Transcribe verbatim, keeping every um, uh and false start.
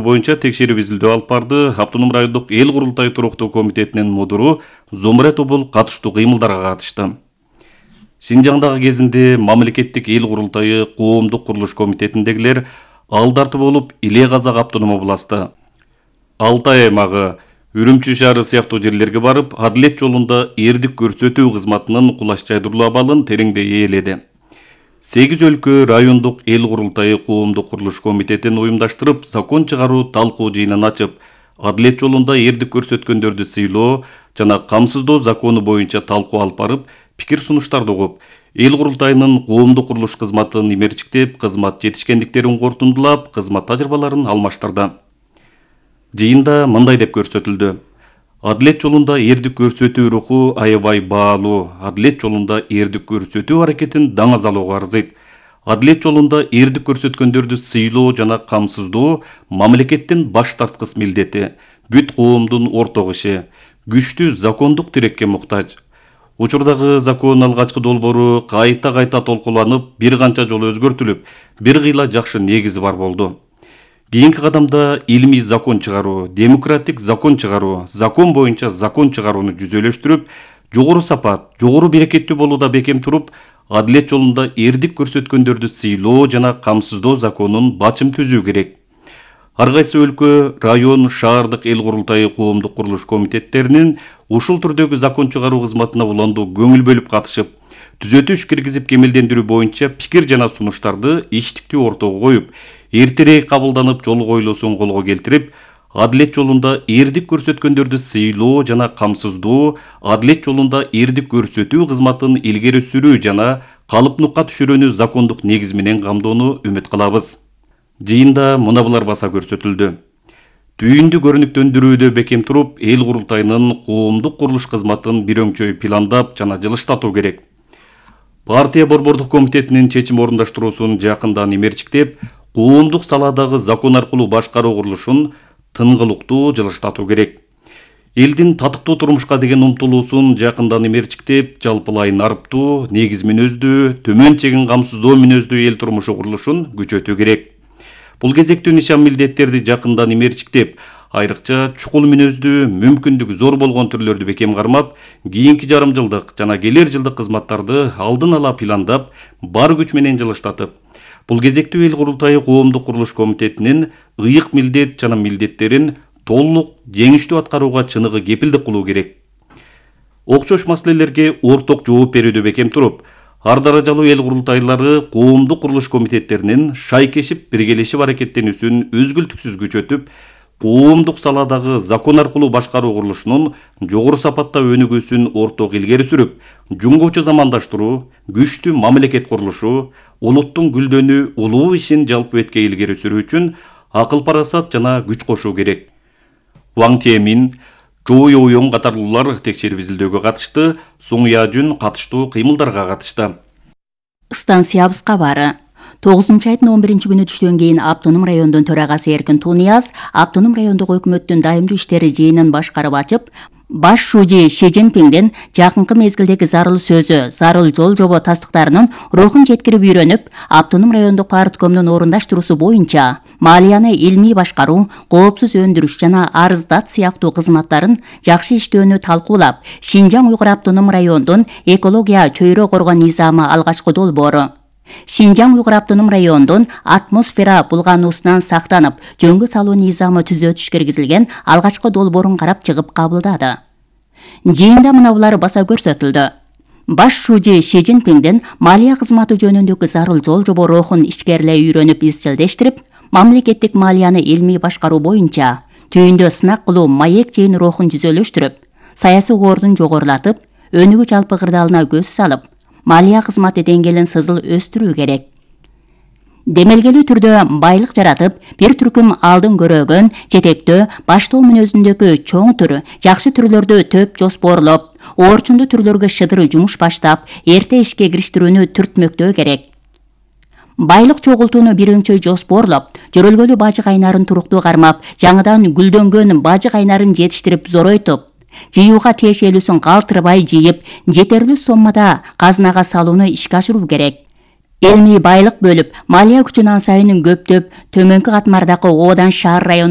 боюнча текшерип изилдөө алып барды. Автоном райондук эл курултайы туруктуу комитетинин мудуру Зомре Тобул катыштуу кыймылдарга катышты. Синжаңдагы кезинде мамлекеттик эл курултайы коомдук курулуш комитетиндегилер алдарты болуп Иле Казак автоном областы, Алтай аймагы, Үрүмчү шаары сыяктуу жерлерге барып, адилет жолунда эрдик көрсөтүү кызматынын кулаш жайдыруу абалын тереңдей ээледи. сегиз өлкө райондук эл курултайы коомдук курулуш комитетин уюмдаштырып, закон чыгаруу талкуу жыйынын ачып, адилет жолунда эрдик көрсөткөндөрдү сыйлоо жана камсыздоо закону боюнча талкуу алып барып, пикир сунуштарды угуп, эл курултайынын коомдук курулуш кызматын имерчиктеп, кызмат жетишкендиктерин кортундулап, кызмат тажрыйбаларын алмаштырды. Жыйында мындай деп көрсөтүлдү. Адилет жолунда эрдик көрсөтүү руху аябай баалуу. Адилет жолунда эрдик көрсөтүү аракетин даңазалоого арзыйт. Адилет жолунда эрдик көрсөткөндөрдү сыйлоо жана камсыздоо мамлекеттин баш тарткыс милдети, бүт коомдун орток иши, күчтүү закондук тирекке муктаж. Учурдагы закон алгачкы долбоору кайта-кайта толкуланып, бир канча жолу өзгөртүлүп, бир кыйла жакшы негизи бар болду. Кийинки кадамда илмий закон чыгаруу, демократик закон чыгаруу, закон боюнча закон чыгарууну жүзөлөштүрүп, жогору сапат, жогору берекеттүү болууда бекем туруп, адилет жолунда эрдик көрсөткөндөрдү сыйлоо жана камсыздоо законун бачым түзүү керек. Ар кайсы өлкө, район, шаардык эл курултайы коомдук курулуш комитеттеринин ушул түрдөгү закон чыгаруу кызматына уланду көңүл бөлүп катышып, түзөтүү иш киргизип кемелдендирүү боюнча пикир жана сунуштарды иштиктүү ортого коюп, эртерээк кабылданып жол коюлуусун колго келтирип, адилет жолунда эрдик көрсөткөндөрдү сыйлоо жана камсыздоо, адилет жолунда эрдик көрсөтүү кызматын илгери сүрүү жана калыпныкка түшүрүүнү закондук негиз менен камдоону үмүт кылабыз. Жыйында мына булар баса көрсөтүлдү. Түйүндү көрүнүктөндүрүүдө бекем туруп, эл курултайынын коомдук курулуш кызматын бир өңчөй пландап жана жылыштатуу керек. Партия борбордук комитетинин чечим орундаштыруусун жакындан имерчиктеп, коомдук салаадагы закон аркылуу башкаруу курулушун тынгылыктуу жылыштатуу керек. Элдин татыктуу турмушка деген умтулуусун жакындан имерчиктеп, жалпылай нарыптуу, негиз мүнөздүү, төмөн чегин камсыздоо мүнөздүү эл турмушу курулушун күчөтүү керек. Бул кезектүү нишан милдеттерди жакындан имерчиктеп, айрыкча чукул мүнөздүү, мүмкүндүгү зор болгон түрлөрдү бекем кармап, кийинки жарым жылдык жана келер жылдык кызматтарды алдын ала пландап, бар күч менен жылыштатып, бул кезектүү эл курултайы коомдук курулуш комитетинин ыйык милдет жана милдеттерин толук жеңиштүү аткарууга чыныгы кепилдик кылуу керек. Окшош маселелерге орток жооп берүүдө бекем туруп, ар даражалуу эл курултайлары коомдук курулуш комитеттеринин шайкешип биргелешип аракеттенүүсүн үзгүлтүксүз күчөтүп, коомдук салаадагы закон аркылуу башкаруу курулушунун жогору сапатта өнүгүүсүн орток илгери сүрүп, жуңгуучу замандаштыруу, күчтүү мамлекет курулушу, улуттун гүлдөнүү, улуу ишин жалпы бетке илгери сүрүү үчүн акыл парасат жана күч кошуу керек. Ваң Темин, Чоо Йоуёң катарлуулар текшерип изилдөөгө катышты, Суң Яжүн катыштуу кыймылдарга катышты. Станциябыз кабары. тогузунчу айдын он биринчи күнү түштөн кийин автоном райондун төрагасы Эркин Тунияз автоном райондук өкмөттүн дайымдуу иштери жыйынын башкарып ачып, баш шужи Ши Цзиньпиндин жакынкы мезгилдеги зарыл сөзү, зарыл жол жобо тастыктарынын рухун жеткирип үйрөнүп, автоном райондук парткомдун орундаштыруусу боюнча малияны илмий башкаруу, коопсуз өндүрүш жана арыздат сыяктуу кызматтарын жакшы иштөөнү талкуулап, Шинжаң Уйгур автоном райондун экология чөйрө коргоо низамы алгачкы долбоору, Шинжаң Уйгур автоном райондун атмосфера булгануусунан сактанып, жөнгө салуу низамы түзөтүш киргизилген алгачкы долбоорун карап чыгып кабылдады. Жыйында мына булар баса көрсөтүлдү. Баш шужи Ши Цзиньпиндин малия кызматы жөнүндөгү зарыл жол жобо рухун ишкерлей үйрөнүп изчилдештирип, мамлекеттик малияны илмий башкаруу боюнча түйүндө сынак кылуу маек жыйын рухун жүзөлөштүрүп, саясий кордун жогорулатып, өнүгүү жалпы кырдаалына көз салып, малия кызматы деңгээлин сызыл өстүрүү керек. Демелгелүү түрдө байлык жаратып, бир түркүм алдын көрөгөн, жетектөө, баштоо мүнөзүндөгү чоң түр, жакшы түрлөрдү төп жоспорлоп, оорчундуу түрлөргө шыдыры жумуш баштап, эрте ишке кириштирүүнү түртмөктөө керек. Байлык чогултууну бир өңчөй жоспорлоп, жөрөлгөлүү бажы кайнарын туруктуу кармап, жаңыдан гүлдөнгөн бажы кайнарын жетиштирип зоройтуп, жыюуга тиешелүүсүн калтырбай жыйып, жетерлүү соммада казынага салууну ишке ашыруу керек. Элмий байлык бөлүп, малия күчүн ан сайын көптөп, төмөнкү катмардагы Оодан шаар райондо